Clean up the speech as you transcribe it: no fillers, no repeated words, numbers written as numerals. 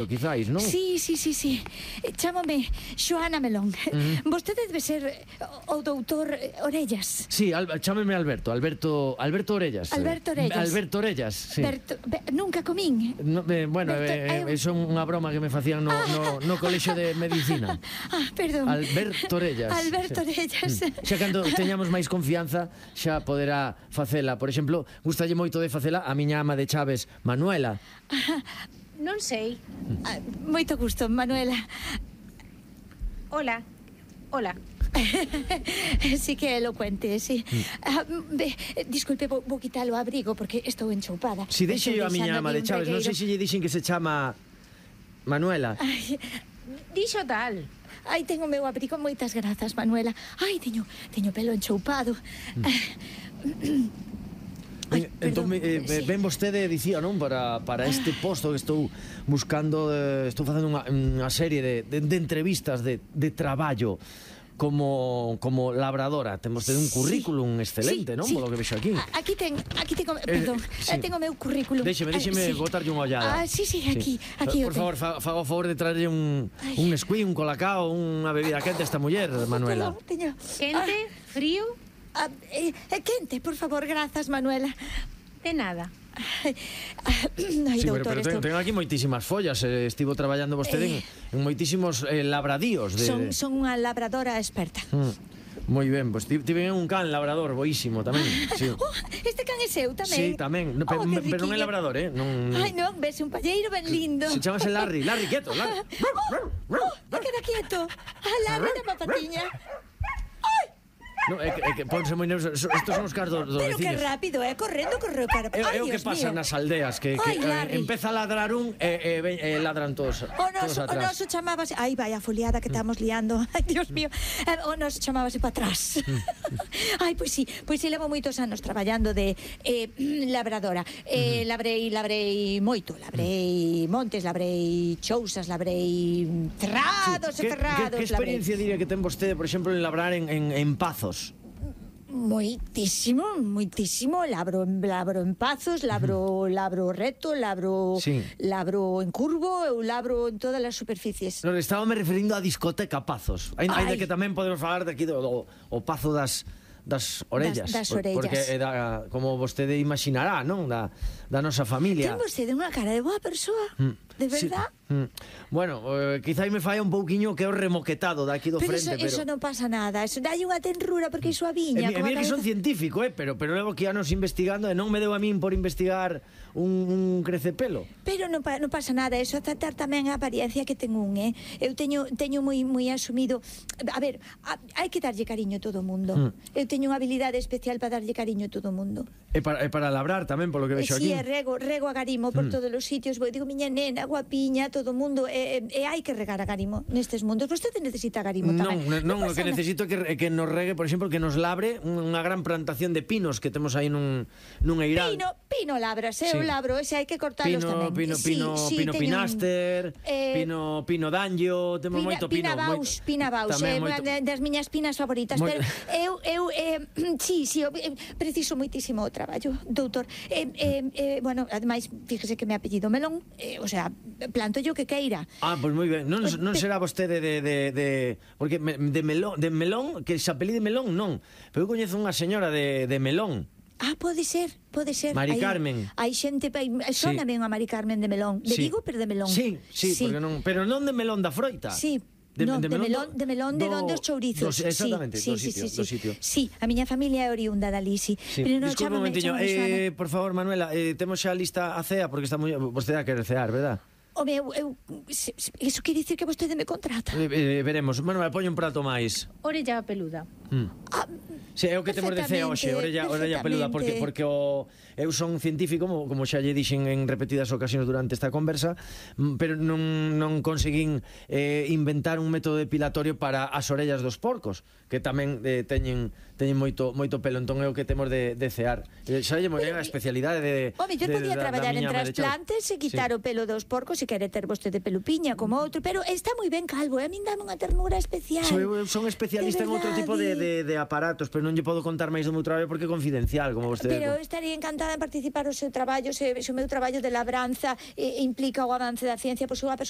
Quizáis, non? Sí. Chámome Xoana Melón. Vostede debe ser o doutor Orellas. Sí, chámeme Alberto Orellas. Alberto Orellas, sí. Nunca comín. Bueno, é unha broma que me facían no colexio de medicina. Perdón. Alberto Orellas. Xa cando teñamos máis confianza xa poderá facela. Por exemplo, gustalle moito de facela a miña ama de chaves, Manuela. Non sei. Moito gusto, Manuela. Hola. Sí que é elocuente, sí. Disculpe, vou quitar o abrigo porque estou enchoupada. Si deixe yo a miña ama de chaves, non sei se lle dixen que se chama Manuela. Dixo tal. Ai, tengo o meu abrigo, moitas grazas, Manuela. Ai, teño pelo enchoupado. Entón, ven vostede, dicía, non? Para este posto que estou buscando, estou facendo unha serie de entrevistas de traballo como labradora. Ten vostede un currículum excelente, non? Polo que vexo aquí. Aquí tengo, perdón, tengo o meu currículum. Déxeme botarlle unha ollada. Sí, aquí Por favor, faga o favor de traerlle un esquí, un colacao, unha bebida quente a esta muller, Manuela. Quente, frío... quente, por favor, grazas, Manuela. De nada. Ai, doutor, pero ten aquí moitísimas follas. Estivo traballando vostede en moitísimos labradíos. Son unha labradora experta. Moi ben, pois tiven un can labrador boísimo tamén. Este can é seu tamén? Sí, tamén, pero non é labrador, Ai, non, ves un palleiro ben lindo. Se chamase Larry, quieto, Larry. Queda quieto. Larry da papatiña. No, é que ponse moi nervioso. Estos son os casos dos vecinos. Pero que rápido, correndo cara. É o que pasa nas aldeas, que empeza a ladrar un e ladran todos atrás. O noso chamábase... Ai, vai a foliada que estamos liando. Ai, Dios mío. O noso chamábase para atrás. Ai, pois sí, levo moitos anos traballando de labradora. Labrei moito. Labrei montes, labrei chousas, labrei cerrados e cerrados. Que experiencia diría que ten vostede, por exemplo, en labrar en Pazos? Moitísimo. Labro en Pazos, labro reto, labro en curvo, eu labro en todas as superficies. Non, estábame referindo a discoteca Pazos. Ainda que tamén podemos falar de aquí do Pazo das orellas. Das orellas. Porque como vostede imaginará, non? Da nosa familia. Ten vostede unha cara de boa persoa. De verdad? Bueno, quizá me falla un pouquiño que é o remoquetado daqui do frente, pero eso non pasa nada, eso dai unha tenrura porque iso a viña. Mira que son científico, pero levo aquí anos investigando e non me deu a min por investigar un crecepelo. Pero non pasa nada, eso tratar tamén a apariencia que ten un, Eu teño moi asumido. A ver, hai que darlle cariño a todo o mundo. Eu teño unha habilidade especial para darlle cariño a todo o mundo. E para labrar tamén, polo que vexo aquí. Si, rego a garimo por todos os sitios. Digo, miña nena, guapiña, todo o mundo, e hai que regar a garimo nestes mundos. Vostede necesita garimo tamén. Non, o que necesito é que nos regue, por exemplo, que nos labre unha gran plantación de pinos que temos aí nun eiral. Pino labras, eu labro, ese hai que cortalos tamén. Pino pinaster, pino danllo, temos moito pino. Pina baus, das miñas pinas favoritas, pero eu preciso moitísimo o traballo, doutor. Bueno, ademais, fíjese que me apellido Melón, o sea, planto yo que queira. Pois moi ben. Non será vostede porque de melón, que se apelide Melón, non. Pero eu coñezo unha señora de Melón. Pode ser. Mari Carmen. Hai xente, sóname unha Mari Carmen de Melón. De Vigo, pero de Melón. Sí, porque non, pero non de melón da froita. Sí. De melón de onde os chourizos. Exactamente, do sitio. Sí, a miña familia é oriunda dali, sí. Disculpe un momentiño, por favor, Manuela, temos xa lista a cea, porque está moi... Vostede a querer cear, verdad? Home, iso quere dicir que vostede me contrata. Veremos. Manuela, poño un prato máis. Orella peluda. Sí, é o que temos de cea hoxe, orella peluda, porque eu son científico, como xa lle dixen en repetidas ocasións durante esta conversa, pero non conseguín inventar un método depilatorio para as orellas dos porcos, que tamén teñen moito pelo, entón é o que temos de cear. Xa lle morei a especialidade de... Home, yo podía traballar en trasplantes e quitar o pelo dos porcos se quere ter vostede pelupiña como outro, pero está moi ben calvo, a min dame unha ternura especial. Eu son especialista en outro tipo de aparatos, pero non lle podo contar máis do meu traballo porque é confidencial, como vostede. Pero estaría encantada en participar o seu traballo, se o meu traballo de labranza implica o avance da ciencia, pois unha persoa